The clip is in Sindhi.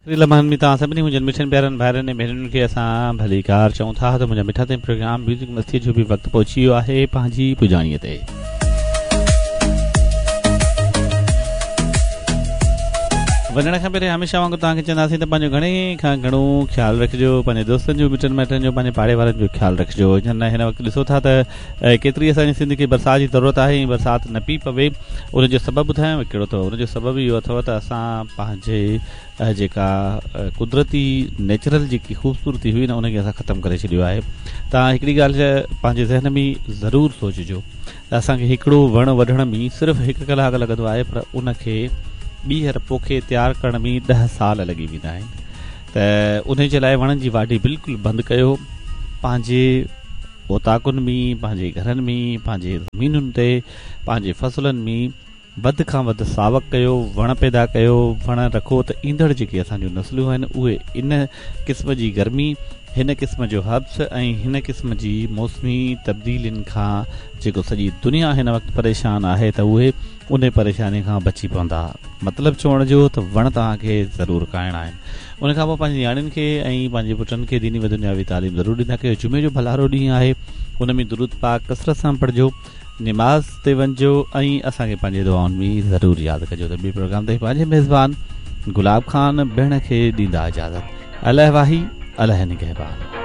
آخري لمحن ۾ توهان سڀني منهنجن مٺن پيارن ڀائرن ۽ ڀينرن کي اسان ڀليڪار چئون ٿا ته منهنجا مٺا تائين پروگرام ميوزڪ مستي جو به وقت پهچي ويو آهي پنهنجي پڄاڻيء تي. وڃڻ کان پهرين هميشه وانگر توهان کي چونداسين ته پنهنجو گهڻي کان گهڻو خيال رکجو پنهنجي دوستن جو مٽن مائٽن جو پنهنجي پاڙي وارن جو خيال رکجو جن هن وقت ڏسو ٿا ته ڪيتري اسان جي سنڌ کي برسات جي ضرورت آهي ۽ برسات نه پئي پوي ان جو سبب ٻڌايانو ڪهڙو اٿو ان جو سبب اهو اٿو ته اسان پنهنجي جيڪا قدرتي نيچرل جيڪي خوبصورتي هئي نه ان کي اسان ختم ڪري ڇڏيو آهي توهان هڪڙي ڳالهه پنهنجي ذهن ۾ ضرور سوچجو ته اسان کي هڪڙو وڻ وڍڻ ۾ صرف هڪ ڪلاڪ لڳندو آهي پر ان کي ٻيهر پوکي تيار ڪرڻ ۾ ڏهه سال لڳي ويندا آهن ته ان جي لاء وڻن جي واڍي بلڪل بند ڪيو پنهنجي اوطاقن ۾ پنهنجي گهرن ۾ پنهنجي زمينن تي پنهنجي فصلن ۾ وڌ کان وڌ ساوڪ ڪيو، وڻ پيدا ڪيو، وڻ رکو ته ايندڙ جيڪي اسان جون نسلون آهن اهي ان قسم جي گرمي، هن قسم جو حبس ۽ هن قسم جي موسمي تبديلين کان جيڪو سڄي دنيا هن وقت پريشان آهي ته اهي انهي پريشاني کان بچي پوندا. مطلب چوڻ جو ته وڻ توهان کي ضرور کائڻا آهن. ان کان پوء پنهنجي نياڻين کي ۽ پنهنجي پٽن کي ديني و دنياوي تعليم ضرور ڏيندا ڪيو. جمعي جو ڀلارو ڏينهن آهي ان ۾ درود پاڪ ڪثرت سان پڙهجو. نماز تي وڃجو ۽ اسان کي پنهنجي دعائن ۾ ضرور ياد ڪجو ته ٻي پروگرام تائين پنهنجي ميزبان گلاب خان بهڻ کي ڏيندا اجازت الله واهي الله نگهبان.